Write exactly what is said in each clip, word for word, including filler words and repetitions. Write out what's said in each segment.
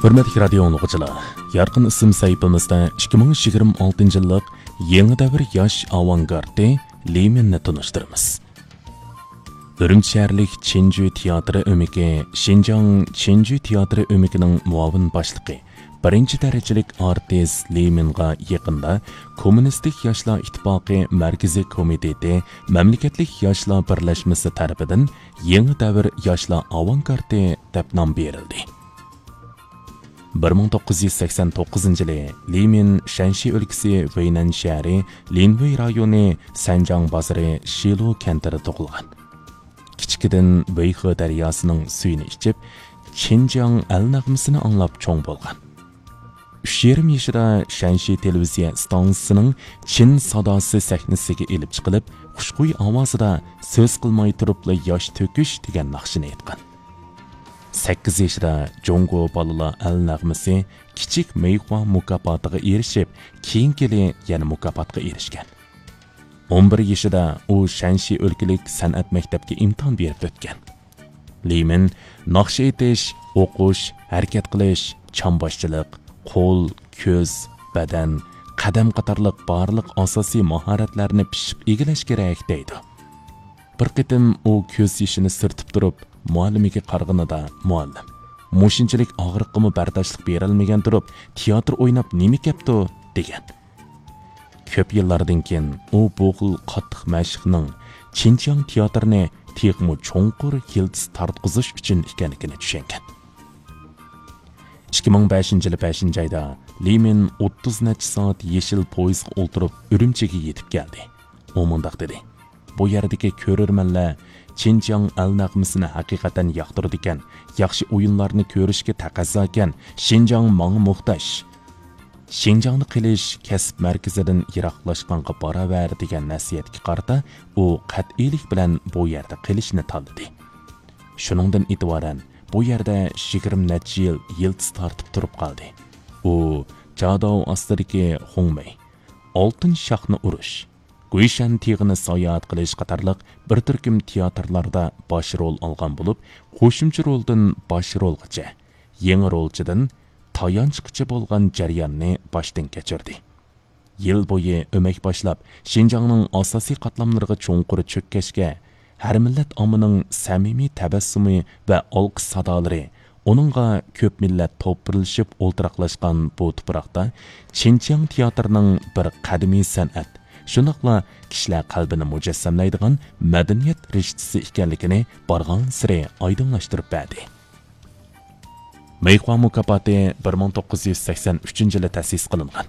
ھۆرمەتلىك رادىيو ئاڭلىغۇچىلار، يارقىن ئىسىم سەھىپىمىزدە ئىككى مىڭ يىگىرمە ئالتىنچى يىللىق يېڭى دەۋر ياش ئاۋانگارتى لى مىننى تونۇشتۇرىمىز. ئۈرۈمچى شەھەرلىك چىنجۈ تىياتىرى ئۆمىكى شىنجاڭ چىنجۈ تىياتىرى ئۆمىكىنىڭ مۇئاۋىن باشلىقى، بىرىنچى دەرىجىلىك ئارتىس لى مىنغا يېقىندا كوممۇنىستىك ياشلار ئىتتىپاقى مەركىزىي كومىتېتى مەملىكەتلىك ياشلار بىرلەشمىسى تەرىپىدىن يېڭى دەۋر ياشلار ئاۋانگارتى دەپ نام بېرىلدى. بىر مىڭ توققۇز يۈز سەكسەن توققۇزىنچى يىلى لى مىن شەنشى ئۆلكىسى ۋېينەن شەھىرى لىنۋېي رايونى سەنجاڭ بازىرى شىلۇ كەنتىدە تۇغۇلغان. كىچىكىدىن ۋېيخې دەرياسىنىڭ سۈيىنى ئىچىپ، چىنجياڭ ئەل نەغمىسىنى ئاڭلاپ چوڭ بولغان. ئۈچ يېرىم يېشىدا شەنشى تېلېۋىزىيە ئىستانسىسىنىڭ چىن ساداسى سەھنىسىگە ئېلىپ چىقىلىپ، خۇشخۇي ئاۋازىدا سۆز قىلماي تۇرۇپلا ياش تۆكۈش دېگەن ناخشىنى ئېيتقان. سەككىز يېشىدا جۇڭگو بالىلار ئەل نەغمىسى كىچىك مېيخۇا مۇكاپاتىغا ئېرىشىپ، كېيىنكى يىلى يەنە مۇكاپاتقا ئېرىشكەن. ئون بىر يېشىدا ئۇ شەنشى ئۆلكىلىك سەنئەت مەكتەپكە ئىمتىھان بېرىپ ئۆتكەن. لى مىن ناخشا ئېيتىش، ئوقۇش، ھەرىكەت قىلىش، چامباشچىلىق، قول، كۆز، بەدەن، قەدەم قاتارلىق بارلىق ئاساسىي ماھارەتلەرنى پىششىق ئىگىلەش كېرەك دەيدۇ. بىر قېتىم ئۇ كۆز يېشىنى سۈرتۈپ تۇرۇپ، مۇئەللىمىگە قارىغىنىدا، مۇئەللىم، مۇشۇنچىلىك ئاغرىققىمۇ بەرداشلىق بېرەلمىگەن تۇرۇپ، تىياتىر ئويناپ نېمە كەپتۇ؟ دېگەن. كۆپ يىللاردىن كېيىن ئۇ بۇ خىل قاتتىق مەشىقنىڭ چىنجياڭ تىياتىرىنى تېخىمۇ چوڭقۇر يىلتىز تارتقۇزۇش ئۈچۈن ئىكەنلىكىنى چۈشەنگەن. ئىككى مىڭ بەشىنچى يىلى بەشىنچى ئايدا لى مىن ئوتتۇز نەچچە سائەت يېشىل پويىزغا ئولتۇرۇپ ئۈرۈمچىگە يېتىپ كەلدى. ئۇ مۇنداق دېدى: «بۇ يەردىكى كۆرۈرمەنلەر چىنجياڭ ئەل نەغمىسىنى ھەقىقەتەن ياقتۇرىدىكەن، ياخشى ئويۇنلارنى كۆرۈشكە تەقەززاكەن، شىنجاڭ ماڭا موھتاج. شىنجاڭدا قېلىش كەسىپ مەركىزىدىن يىراقلاشقانغا باراۋەر» دېگەن نەسىھەتكە قارىتا ئۇ قەتئىيلىك بىلەن بۇ يەردە قېلىشنى تاللىدى. شۇنىڭدىن ئېتىبارەن بۇ يەردە يىگىرمە نەچچە يىل يىلتىز تارتىپ تۇرۇپ قالدى. ئۇ جاداۋ ئاستىدىكى خۇڭمېي، ئالتۇن شاخنى ئۇرۇش، گۇيشەن تېغىنى ساياھەت قىلىش قاتارلىق بىر تۈركۈم تىياتىرلاردا باش رول ئالغان بولۇپ، قوشۇمچە رولدىن باش رولغىچە، يېڭى رولچىدىن تايانچقىچە بولغان جەرياننى باشتىن كەچۈردى. يىل بويى ئۆمەك باشلاپ، شىنجاڭنىڭ ئاساسىي قاتلاملىرىغا چوڭقۇر چۆككەچكە، ھەر مىللەت ئاممىنىڭ سەمىمىي تەبەسسۇمى ۋە ئالقىش سادالىرى، ئۇنىڭغا كۆپ مىللەت توپلىشىپ ئولتۇراقلاشقان بۇ تۇپراقتا چىنجياڭ تىياتىرىنىڭ بىر قەدىمىي سەنئەت، شۇنداقلا كىشىلەر قەلبىنى مۇجەسسەملەيدىغان مەدەنىيەت رىشتىسى ئىكەنلىكىنى بارغانسېرى ئايدىڭلاشتۇرۇپ بەردى. مېيخۇا مۇكاپاتى بىر مىڭ توققۇز يۈز سەكسەن ئۈچىنچى يىلى تەسىس قىلىنغان.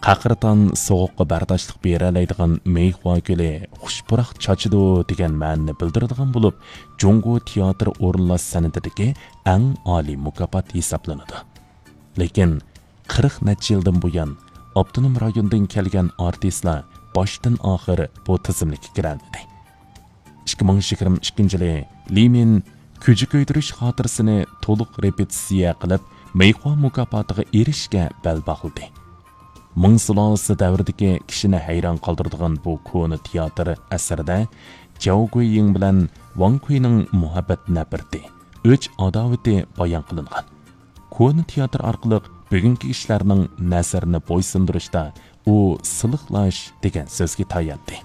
قەقرىتان سوغۇققا بەرداشلىق بېرەلەيدىغان مېيخۇا گۈلى خۇش پۇراق چاچىدۇ دېگەن مەنىنى بىلدۈرىدىغان بولۇپ، جۇڭگو تىياتىر ئورۇنلاش سەنئىتىدىكى ئەڭ ئالىي مۇكاپات ھېسابلىنىدۇ. لېكىن قىرىق نەچچە يىلدىن بۇيان ئاپتونوم رايوندىن كەلگەن ئارتىسلار باشتىن ئاخىر بۇ تىزىملىككە كىرەلمىدى. ئىككى مىڭ يىگىرمە ئىككىنچى يىلى لى مىن كۈجە كۆيدۈرۈش خاتىرىسىنى تولۇق رېپېتىتسىيە قىلىپ، مېيخۇا مۇكاپاتىغا ئېرىشىشكە بەل باغلىدى. مىڭ سۇلالىسى دەۋرىدىكى كىشىنى ھەيران قالدۇرىدىغان بۇ كونا تىياتىر ئەسىرىدە جياۋ گۇييىڭ بىلەن ۋاڭ كۇينىڭ مۇھەببەت نەپرىتى، ئۆچ ئاداۋىتى بايان قىلىنغان. كونا تىياتىر ئارقىلىق بۈگۈنكى كىشىلەرنىڭ نەزىرىنى بويسۇندۇرۇشتا ئۇ سىلىقلاش دېگەن سۆزگە تاياندى.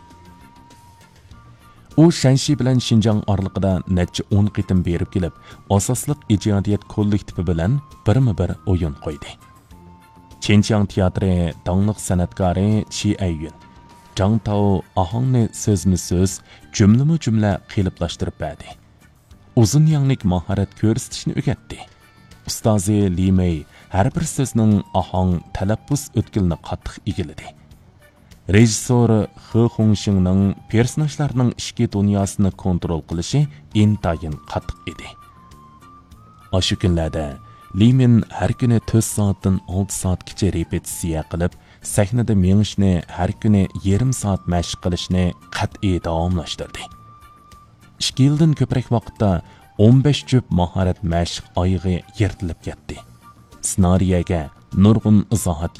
ئۇ شەنشى بىلەن شىنجاڭ ئارىلىقىدا نەچچە ئون قېتىم بېرىپ كېلىپ، ئاساسلىق ئىجادىيەت كوللېكتىپى بىلەن بىرمۇ بىر ئويۇن قويدى. چىنجياڭ تىياتىرى داڭلىق سەنئەتكارى چى ئەييۈن، جاڭ تاۋ ئاھاڭنى سۆزمۇ سۆز، جۈملىمۇ جۈملە قېلىپلاشتۇرۇپ بەردى. ئۇزۇن يەڭلىك ماھارەت كۆرسىتىشنى ئۆگەتتى. ئۇستازى لى مېي ھەر بىر سۆزنىڭ ئاھاڭ، تەلەپپۇز ئۆتكىلىنى قاتتىق ئىگىلىدى. رېژىسسور خې خۇڭشىڭنىڭ پېرسوناژلارنىڭ ئىچكى دۇنياسىنى كونترول قىلىشى ئىنتايىن قاتتىق ئىدى. ئاشۇ كۈنلەردە لى مىن ھەر كۈنى تۆت سائەتتىن ئالتە سائەتكىچە رېپېتىتسىيە قىلىپ، سەھنىدە مېڭىشنى، ھەر كۈنى يېرىم سائەت مەشىق قىلىشنى قەتئىي داۋاملاشتۇردى. ئىككى يىلدىن كۆپرەك ۋاقىتتا ئون بەش جۈپ ماھارەت مەشىق ئايىغى يىرتىلىپ كەتتى. سېنارىيەگە نۇرغۇن ئىزاھات